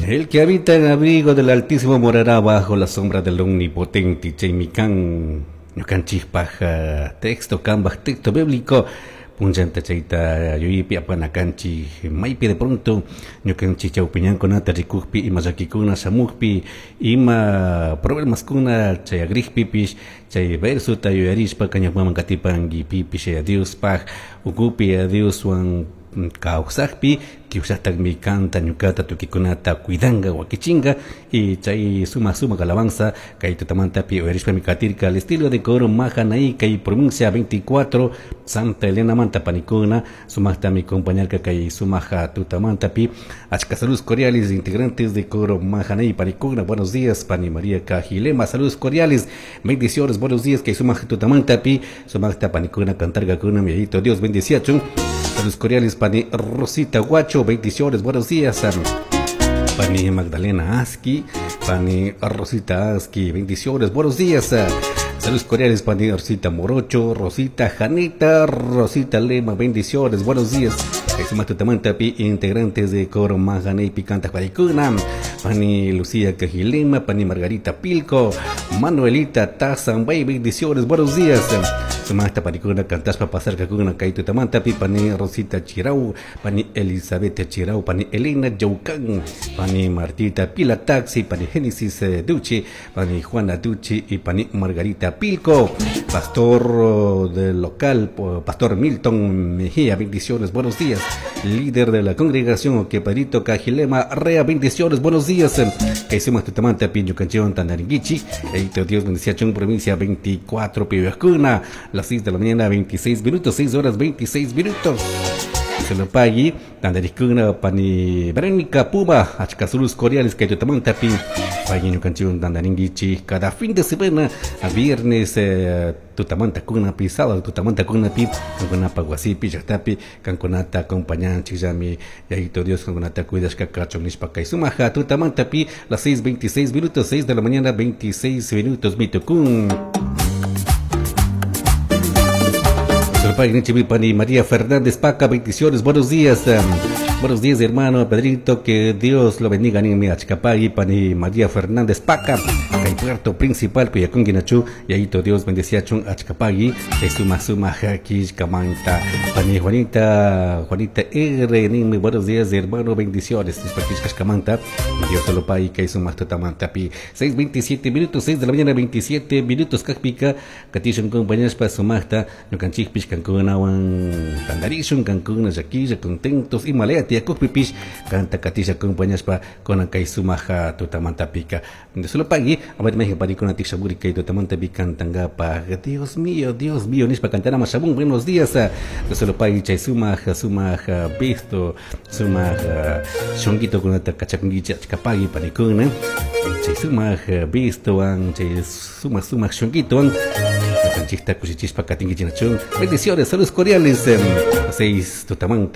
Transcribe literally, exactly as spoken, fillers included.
El que habita en abrigo del Altísimo morará bajo la sombra del Omnipotente. Chaymi kan ñukanchikpaj texto kambaj texto bíblico punllanta chayta yuyaypi apana kanchik maypi de pronto ñukanchik chawpiñankunata rikukpi ima llakikuna shamukpi ima problemaskuna chayagrikpipish chay versota yuyarishpa ñawpaman katipanki pipish Diospaj ukupi Dioswan kawsakpi Diosllatakmi kanta ñukata tukikunata cuidanga wakichinga y chay suma suma alabanza kay tutamantapi uyarishpami katirka al estilo de coro Mahanaí kay provincia veinticuatro Santa Elena manta panikuna sumaktami acompañarka kay sumaja tutamantapi. Achka saludos cordiales, integrantes de coro Mahanaí panikuna, buenos días. Pani María Cajilema, saludos cordiales, bendiciones, buenos días. Kay sumaja tutamantapi sumakta panikuna cantarkakuna, mi Dios bendiciachun. Saludos cordiales, pani Rosita Guacho, bendiciones, buenos días. Pani Magdalena Aski, pani Rosita Aski, bendiciones, buenos días. Saludos cordiales, pani Rosita Morocho, Rosita Janita, Rosita Lema, bendiciones, buenos días. Pi integrantes de coro Mahaney Picanta Panicuna, pani Lucía Cajilema, pani Margarita Pilco, Manuelita Tazambay, bendiciones, buenos días. Sumasta panicuna cantaspa pasar kakuna kay tutamantapi pani Rosita Chirau, pani Elizabeth Chirau, pani Elena Yaucán, pani Martita Pila Taxi, pani Génesis Duchi, pani Juana Duchi y pani Margarita Pilco. Pastor del local, Pastor Milton Mejía, bendiciones, buenos días. Líder de la congregación Oqueparito Cajilema Rea, bendiciones, buenos días. Que hicimos tutamanta piño canción tandaringuichi. Dios bendice provincia veinticuatro Pihuascuna, las seis de la mañana, veintiséis minutos, seis horas veintiséis minutos. Se lo pagui, tandariscuna, pani Verónica Puma, achcasulus cordiales que tutamanta pi, pagui canción tandaringuichi, cada fin de semana, a viernes, eh, tutamanta kunapi, sábado tutamanta kunapi, kankunapa wasipi, llaqtapi, kankunata acompañanchik llami, yayito Dios kankunata cuidashka kachun nishpa kay sumaja tutamantapi, las seis veintiséis minutos, seis de la mañana, veintiséis minutos, mitukun. Pani María Fernández Paca, bendiciones, buenos días. Buenos días, hermano Pedrito, que Dios lo bendiga. Ni Achcapagui, pani María Fernández Paca, kay puerto principal, Cuyacón, y ahí Dios bendecía chun Achcapagui, suma suma jaquish kamanta. Pani Juanita, Juanita R, ni buenos días, hermano, bendiciones. Camanta, Dios lo pague, que suma tutamanta pi. seis veintisiete minutos, seis de la mañana, veintisiete minutos, kakpika, katishun compañeros pa sumacta, ñukanchikpish kankunawan tandarishun, kankuna llakilla, contentos y malea tiakupipish, canta katisha compañeros pa con kay sumaja tutamanta pika. De solo pagui, a ver México parikuna tishaburi kay tutamanta pi cantanga pa. Dios mío, Dios mío, nispa cantana mashabun, buenos días. De solo pagui chay sumaja, sumaja visto, sumaja shonguito kunata kachakungicha chkapagui panikuna. Chay sumaja visto an, chay suma suma shonguito an. Bendiciones, saludos cordiales. Seis tutamanta.